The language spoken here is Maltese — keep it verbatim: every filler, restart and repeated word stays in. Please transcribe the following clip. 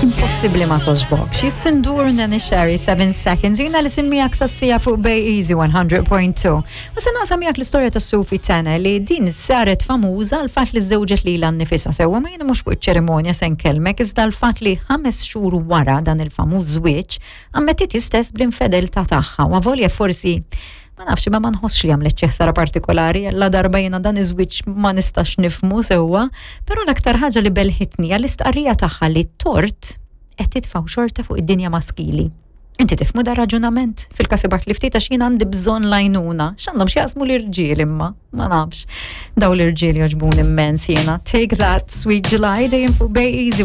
Impossibbli ma togħġbokx. Jissindur Neneh Cherry, seven Seconds. Jiena li miegħek sas-siegħa fuq Bay Easy one hundred point two. Ma se naqsam miegħek l-istorja ta' Sophie Tanner li din saret famuża l-fatt li żewġet lilha nnifisha sewwa, ma jiena mhux fuq iċ-ċerimonja se nkellmek, iżda l-fatt li ħames xhur wara dan il-famuż żwieġ ammettiet stess bl-infedeltà tagħha, u avolja forsi, ma nafx, ma ma nħossx li għamlet xi ħsara partikolari, la darba jiena dan iż-żwieġ ma nistax nifhmu sewwa, però l-aktar ħaġa li belħitni għall-istqarrija tagħha li tort qed titfgħu xorta fuq id-dinja maskili. Inti tifhmu da raġunament? Fil-każ li ftit, għax jien għandi bżonn l-għajnuna. X'għandhom x'jaqsmu l-irġiel imma? Ma nafx. Daw l-irġiel jogħġbuni immens jiena. Take That, Sweet July, dejjem fuq Bay Easy.